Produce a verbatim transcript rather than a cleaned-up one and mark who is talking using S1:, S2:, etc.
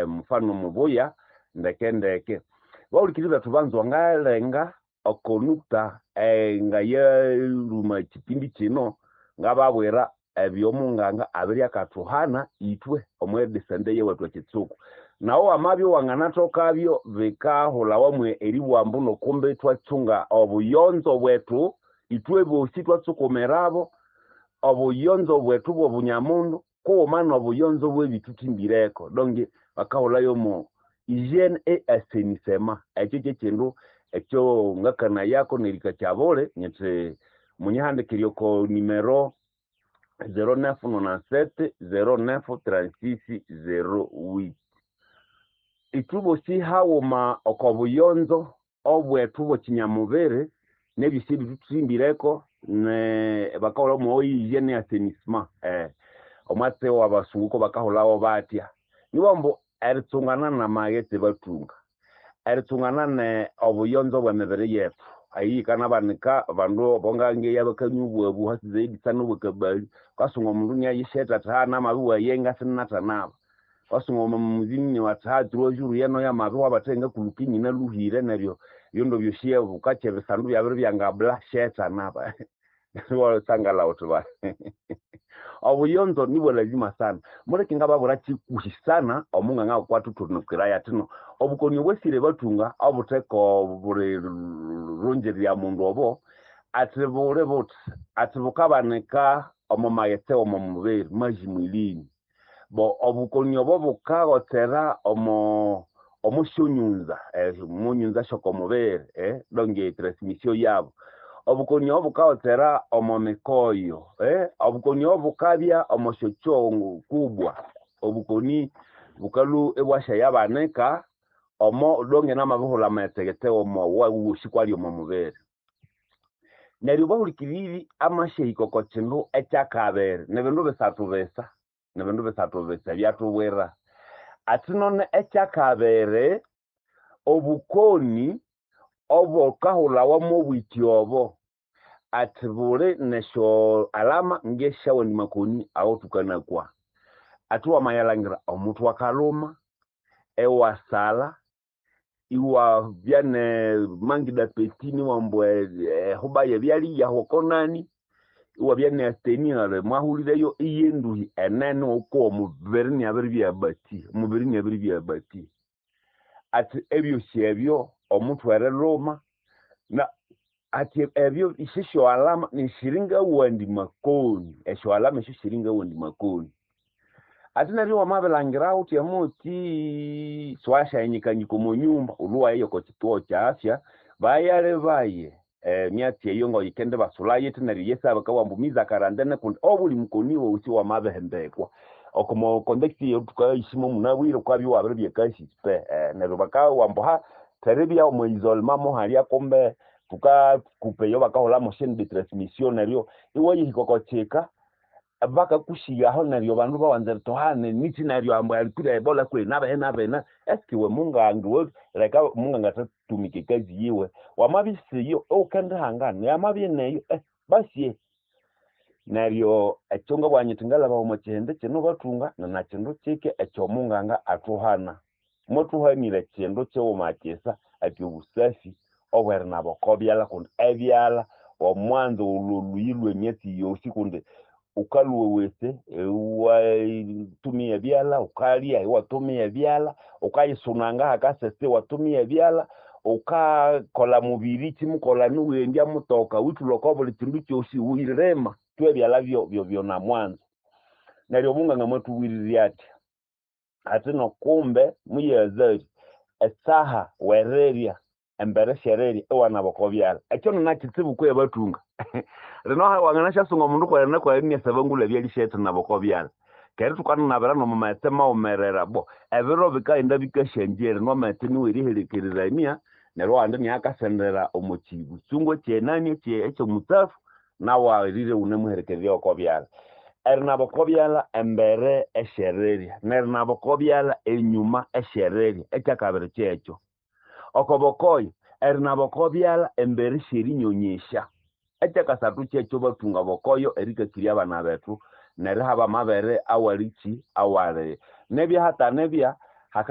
S1: mufano mubuya ndeke ndeke. Bahulikiri bethu banzwa ngalenga oko nukta ngayaluma ekipindi kino ngababwira ebyomunganga abiri akathuhana ithwe omwedisente yewethu ekitsuku. Nawo wamabya wanganathokabyo bikahulhawa eribugha nokumbi ithwatsunga obuyonzo bwethu ithwe bosi ithwatsukumirabo obuyonzo bwethu bwobunyamundu kughuma nobuyonzo bwebithuthimbireko. Donge bakahulhayo omo hygiene et assainissement. Ekyo kyekindu ekyo ngakanayako nerikakyabule nyithi munyihandikirye oko numero zero neuf nonante-sept zero neuf trente-six zero huit. Ithwe bosi haghuma oko buyonzo obwethu bwekinyamubiri nebyosi ebithuthimbireko ne bakahulha omo hygiene et assainissement omwatsi wabasungu kubakahulhawo batya. Nibughambu eritsungana namaghetse bathunga, eritsungana ne obuyonzo bwemibiri yethu eyikanabanika abandu bongangeya bakanywa obwabu hasi zaidi sana obwakabali, wukasunga omundu inayisheta athi ha namabya iwayenga sininathanaba. Wukasunga omuzimu athi ha trois jours yeno yamabya iwabathenga kuluka inyinalhuhire neryo ebindu byosi bukakya ebisandu byabiribya ngabula shethanaba. Iwasangala wuthi bali obuyonzo nibwa lazima sana. Muleke ngababwira kikuhi sana omunganga kwathuthunukirayo athino obukoni obwasire bathunga obutheka buli rungirya mundu obo athi buli buthi athi bukabanika omo maghetse omo mubiri maji mwilini. Bo obukoni obo bukagotsera omo omosyonyunza munyunza syokomubiri donge transmission yabo. Obukoni obo bukagotsera omo mikoyo obukoni obo bukabya omo syokyongo kubwa. Obukoni bukalhwa ibwasyayabanika omo donge namabihulha amaghetse omo wosi kwali omo mubiri. Neryo bahulikiriri amasyahika oko kindu ekyakabiri nibindu bisathu bisa, nibindu bisathu bisa ebyathubwira. Athi none ekyakabiri obukoni obukahulhawa mobwiki obo athi buli nesyo alama ngesyawandi makoni awathukanakwa. Athi wamayalhangira omuthwe akalhuma, iwasalha, iwabya ne manque d'appétit niwamba ehuba yebyalya oko nani, iwabya ne asthénie mwahulireyo iyenduhi enene wukowa omubiri inabiribya abati, omubiri inabiribya abati. Athi ebyosi ebyo omuthwe erilhuma na athi ebyo sisyo alama nisiringawandi makoni, esyo alama esyo siringawandi makoni. Athi neryo wamabilhangira wuthi muthi siwasyayinyikanyika omo nyumba wulhwe iwaya oko kituo kya afya bayalebaye emyatsi eyo ngayikendibasulayo yithi neryo yesa bakabugha ambu mise en quarantaine kundi obuli mukoni wosi wamabihembekwa. Omo context eyathukayisimo munabwire wukabya iwabiribya kasipe neryo bakabugha ambu ha theribya omo isolement muhalya kumbe thukakupa eyo bakahulhamu chaine de transmission neryo iwayahika oko kika bakakusighaho neryo abandu bawanza eritohana nikyi neryo ambu alikwire ebola kwehi nabihi nabina eske iwe munganga iwe leka munganga athatumika ekazi yiwe wamabya isiyo iwukendihangana yamabya ineyo basi. Neryo ekyo ngabugha nyithi ngalhaba omo kihindi kino bathunga ninakindu kike ekyomunganga athuhana. Mwathuhanire kindu kighuma kisa athi obusafi obwerinaba oko byalha kundi ebyalha omwanzo olwo olhuyi lwemyatsi yosi kundi wukalhwa ewese iwatumia ebyalha, wukalya iwatumia ebyalha, wukayisunanga hakasese iwatumia ebyalha, wukakolha mubiri kyimukolha niwendya mutoka withulha oko buli kindu kyosi wuyilima tu ebyalha byonamwanzo. Neryo omunganga mwathubwirire athi athi nokumbe muyazali esaha werirya embere syerirya iwanaba oko byalha. Ekyo ninakitsibu kwihi bathunga. Lino wanganasyasunga omundu kweri nakweri inasaba ngulhabya erisyathinaba oko byalha. Keri thukananabira nomo maghetse maghumerera bo ebiro bikaghenda bikasyangyera nwamaghetse niwo eriherekererania neryo awandi inakasendera omo kibutsungu ekyenani ekyomutsafu nawu awirire iwunemuherekererya oko byalha. Erinaba oko byalha embere esyerirya nerinaba oko byalha enyuma esyerirya ekyakabiri kyekyo. Oko bokoyo erinaba oko byalha embere syerinyonyesya. Ekyakasathu kyekyo bathunga bokoyo erikakirya abana bethu nerihaba amabere awalikyi awali. Nebya hatha nebya